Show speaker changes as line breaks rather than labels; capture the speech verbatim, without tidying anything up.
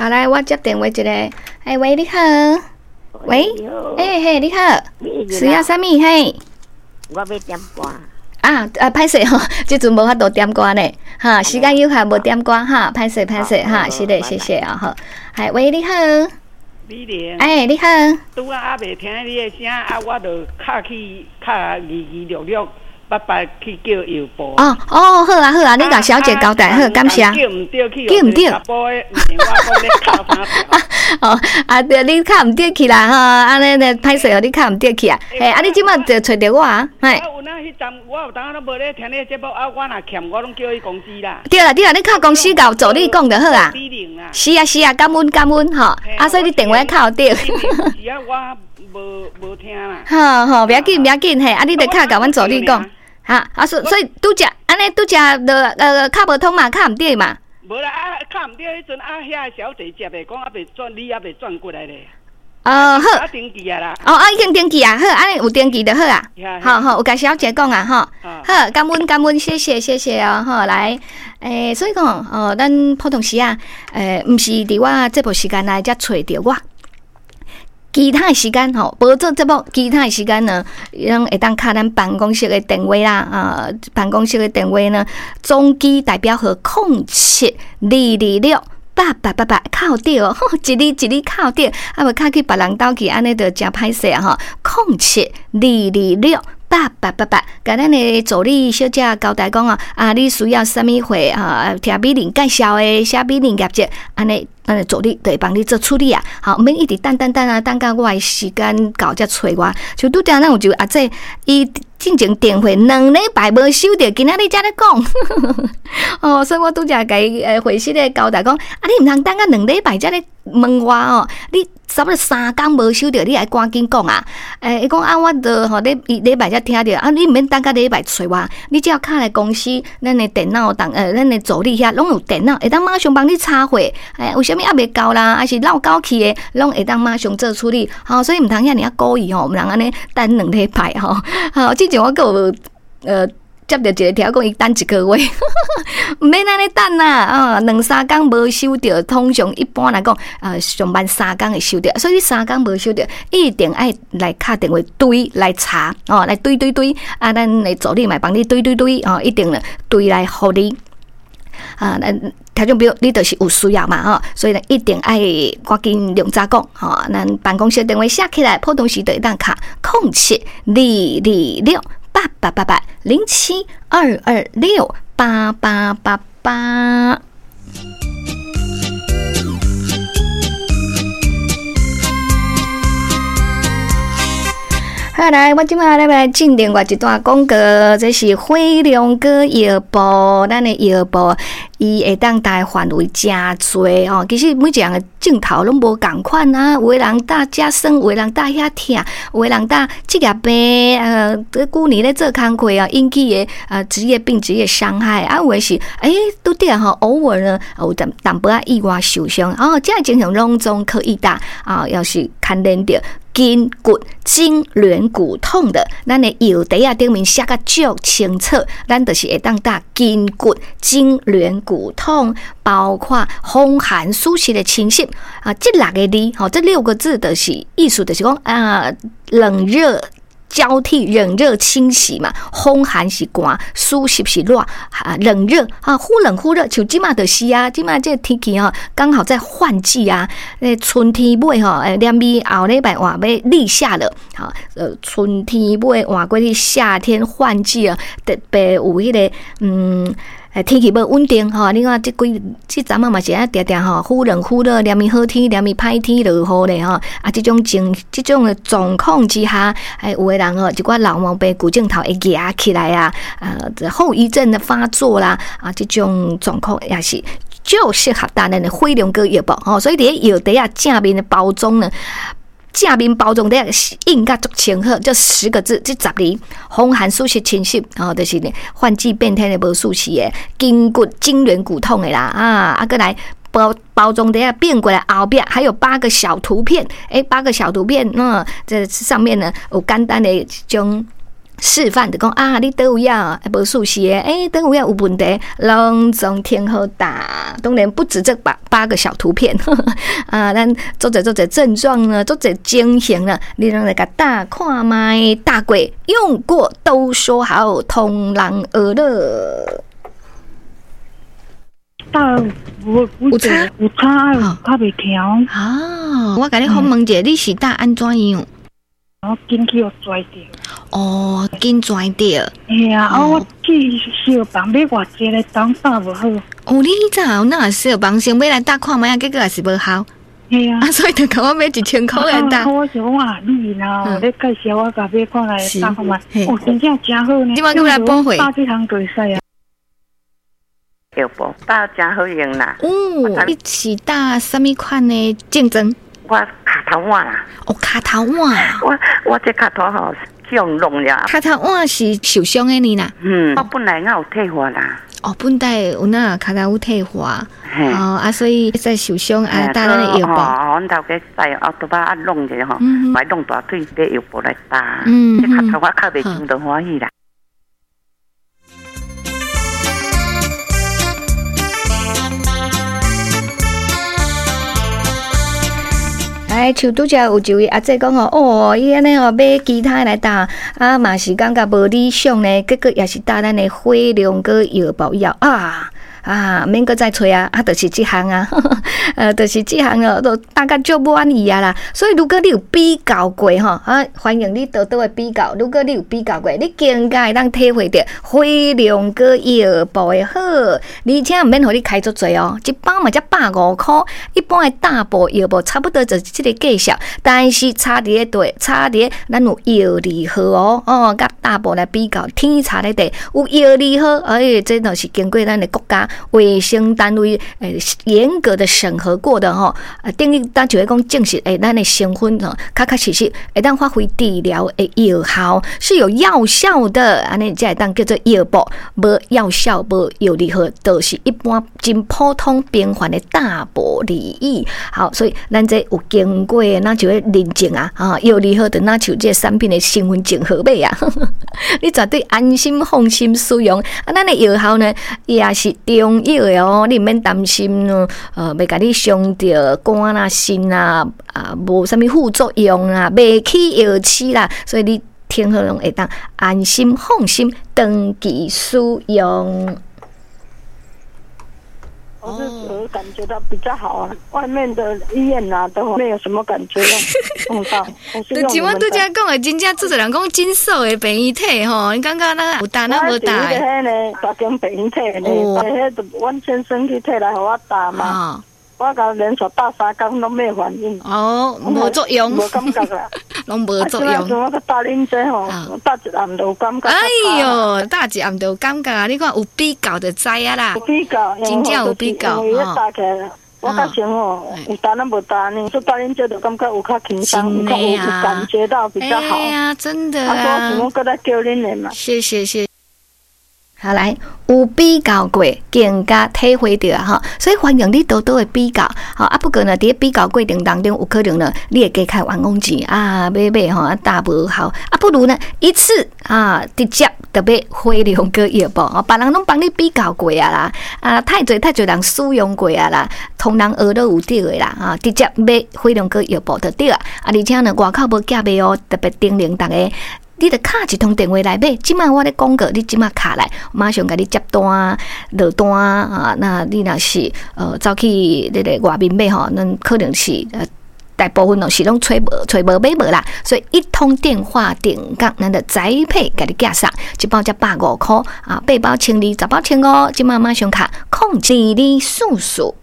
好，來，我接電話一个。欸，喂，你好。喂，欸嘿，你好。需要啥物？嘿。
我欲點歌。
啊啊，歹勢吼，這陣無法度點歌呢，哈，時間有限無點歌哈，歹勢歹勢哈，是的，謝謝啊，好，係，喂，你好。
美玲。
欸，你好。
拄仔猶未聽你的聲，啊，我就敲去敲二二六六八八去叫藥布。
哦哦，好啊好啊，你共小姐交代好，感謝。
叫毋著去，
叫毋著。
查埔的，毋是我講咧敲啥
哦，啊對，你敲毋著去啦吼，按呢呢歹勢哦，你敲毋著去啊。嘿，啊你這擺就揣著我啊，嘿。
啊有哪彼站，我有當攏無咧聽你的節目，啊我若欠我攏叫去公司啦。
對啦對啦，你敲公司共助理講就好啊。是啊是啊，感恩感恩吼，啊所以你電話敲著。
是啊，我無無聽啦。
好好，袂要緊袂要緊嘿，啊你著敲共阮助理講。哈啊所所以拄才按呢拄才就呃敲無通嘛，敲毋著嘛。
無啦，啊敲毋著彼陣啊，遐個小姐接的，講猶未轉，你猶未轉過來咧。
哦好。
啊登記啊啦。
哦啊已經登記啊，好，按呢有登記就好啊。好好，有共小姐講啊吼。好，感恩感恩，謝謝謝謝哦，好來，欸，所以講哦，咱普通時啊，欸，毋是佇我節目時間內才揣著我。其他的時間吼，無做節目，其他的時間呢，攏會當敲咱辦公室的電話啦，啊，辦公室的電話呢，總機代表號空七二二六八八八八，敲著哦，一字一字敲著，啊無敲去別人兜去，按呢就誠歹勢啊吼，空七二二六八八八八，共咱的助理小姐交代講啊，啊，你需要啥物貨啊？聽美玲介紹的，寫美玲業績，按呢。咱的助理就會幫你做處理啊，好，毋免一直等等等啊，等到我的時間到才揣我。像拄才咱有一個阿姐，伊進前電話兩禮拜無收著，今仔日才咧講。哦，所以我拄才共伊呃回信咧交代講，啊，你毋通等到兩禮拜才咧問我哦，你差不多三工無收著，你愛趕緊講啊。欸，伊講啊，我著吼禮禮拜才聽著，啊，你毋免等到禮拜揣我，你只要敲來公司，咱的電腦當呃，咱的助理遐攏有電腦，會當馬上幫你查貨。欸，有啥物猶未到啦，還是落交去的，攏會當馬上做處理。吼，所以毋通遐爾仔古意吼，毋通按呢等兩禮拜吼。好，之前我閣有呃接著一個聽講伊等一個月，毋免按呢等啦，啊，兩三工無收著，通常一般來講，呃，上慢三工會收著，所以你三工無收著，一定愛來敲電話追來查，哦，來追追追，啊，咱的助理嘛幫你追追追，哦，一定咧追來予你。啊，咱聽眾朋友，你就是有需要嘛，吼，所以呢，一定愛趕緊量早講，吼，咱辦公室電話寫起來，普通時就會當敲空七二二六八八八八零七二二六八八八八。好來，我這擺來來進另外一段廣告，這是輝龍哥藥鋪，咱的藥鋪，伊會當帶範圍誠濟吼。其實每一個人的症頭攏無仝款啊，有的人搭遮酸，有的人搭遐疼，有的人搭職業病，呃，這舊年咧做工課啊，引起的呃職業病、職業傷害啊，有的是欸，拄著吼，偶爾呢有淡淡薄仔意外受傷，哦，這個情形攏總可以搭啊，要是牽連著筋骨筋軟骨痛的，咱的藥袋仔頂面寫甲足清楚，咱就是會當打筋骨筋軟骨痛，包括風寒暑濕的侵襲啊，這六个字吼，這六個字就是意思，就是講啊，冷熱交替，冷熱侵襲嘛，風寒是寒，暑濕是熱，啊，冷熱啊，忽冷忽熱，像這馬就是啊，這馬這個天氣吼，剛好在換季啊，欸，春天尾吼，欸，連尾後禮拜換欲立夏了，哈，呃，春天尾換過去夏天換季啊，特別有彼個嗯。天氣無穩定吼，你看這幾這陣仔嘛是按定定吼，忽冷忽熱，連綿好天，連綿歹天落雨咧吼。啊，這種情，這種的狀況之下，欸，有的人吼，一寡老毛病、舊症頭會壓起來啊，啊，後遺症的發作啦，啊，這種狀況也是就適合打咱的火龍果藥布吼。所以佇咧藥袋仔正面的包裝呢。正面包裝底下印甲足清楚，這十個字，這十字，風寒暑濕侵襲，吼，就是呢，換季變天的無舒適的，筋骨筋軟骨痛的啦，啊，啊，閣來包包裝底下變過來後壁還有八個小圖片，欸，八個小圖片，嗯，這上面呢有簡單的將。示範就講啊，你佗位啊無舒適的，欸，佗位啊有問題，攏總聽好打。當然不止這八八個小圖片，啊，咱足濟足濟症狀呢，足濟情形呢，你攏來共打看覓，打過用過都說好，通人學樂。
打有有差有差，較袂疼。
啊，我共你訪問一下，你是打按怎樣？
我筋去予跩著。
哦，筋跩著。
嘿啊，啊，我去藥房買偌濟來當打無好。
哦，你彼早有哪藥房先買來打看覓啊？結果也是無效。
嘿啊。
啊，所以就共我買一千箍來打。
我想講啊，你若咧介紹我共買看來打看覓，哦，真正誠好呢。
你嘛閣來補貨？
打這項就會使啊。
藥布打誠好用啦。
哦，你是打啥物款的症狀？
我跤頭腕啦。
哦，跤頭腕。
我我這跤頭吼去予弄了。
跤頭腕是受傷的呢啦。
嗯，我本來我有退化啦。
哦，本來有那跤頭有退化。哦啊，所以在受傷啊，打咱的藥布。
哦，阮頭家在後頭擺啊弄者吼，來弄大腿買藥布來打。
嗯
這跤頭我較袂傷就歡喜啦。
哎，像拄才有一位阿姐講哦，哦，伊按呢哦買其他來打，啊嘛是感覺無理想呢，結果也是打咱的火龍果藥包以後啊。啊，免閣再揣啊，啊，就是這項啊，呃，就是這項哦，都大概足滿意啊啦。所以如果你有比較過吼，啊，歡迎你多多的比較。如果你有比較過，你更加會當體會著火龍果藥布的好，而且毋免予你開足濟哦，一包嘛才百五箍，一般的大布藥布差不多就是這個價數，但是差佇咧佗，差佇咧咱有藥字號哦，哦，佮大布來比較，天差咧地有藥字號，哎，這都是經過咱的國家衛生單位誒嚴格的審核過的吼，啊，等於咱就會講證實，欸，咱的成分吼，確確實實會當發揮治療的藥效，是有藥效的，按呢才會當叫做藥布，無藥效無藥字號，就是一般真普通平凡的大布而已。好，所以咱這有經過，咱就會認證啊，啊，藥字號就若像這產品的身份證號碼啊，你絕對安心放心使用。啊，咱的藥效呢，也是中藥的哦，你毋免擔心哦，呃，袂共你傷著肝啦、腎啦，啊，無啥物副作用啦，袂起藥刺啦，所以你聽好攏會當安心放心長期使用。
我是我感覺到比較好啊，外面的醫院啊都沒有什麼感覺用到。
就像我拄才講的，真正做濟人講診所的病院體吼，你感覺咱有打咱無打？
我是彼個呢，大間病院體呢，彼個就阮先生去提來予我打嘛。我共連續打三工攏沒反應。
哦，無作用。
無感覺啦。
攏無作用。
我打恁這吼，打一暗就有感覺。
哎喲，打一暗就有感覺，你看有比較就知啊啦。
有比較，
真正有比較。
因為打起來，我較像吼，有打咱無打呢，說打恁這就感覺有較輕鬆，有較有感覺到比較好。
哎呀，真的
啊！我想講閣來叫恁的嘛。
謝謝謝。好來，有比較過，更加體會著吼，所以歡迎你多多的比較，吼啊。不過呢，佇咧比較過程當中，有可能呢，你會加開冤枉錢啊，買買吼啊，打無效啊，不如呢一次啊，直接就買火龍果藥布，別人攏幫你比較過啊啦，啊，太濟太濟人使用過啊啦，通人學都有對的啦，啊，直接買火龍果藥布就對啊，啊，而且呢，外口無寄賣哦，特別叮嚀逐家。你著敲一通電話來買，這擺我咧廣告，你這擺敲來，馬上共你接單落單啊！那你若是呃走去這个外面買吼，咱可能是呃大部分攏是攏揣無揣無買無啦，所以一通電話定崗，咱就宅配共你寄送，一包才百五箍啊，八包千二，十包千五，這擺馬上敲空二二四四。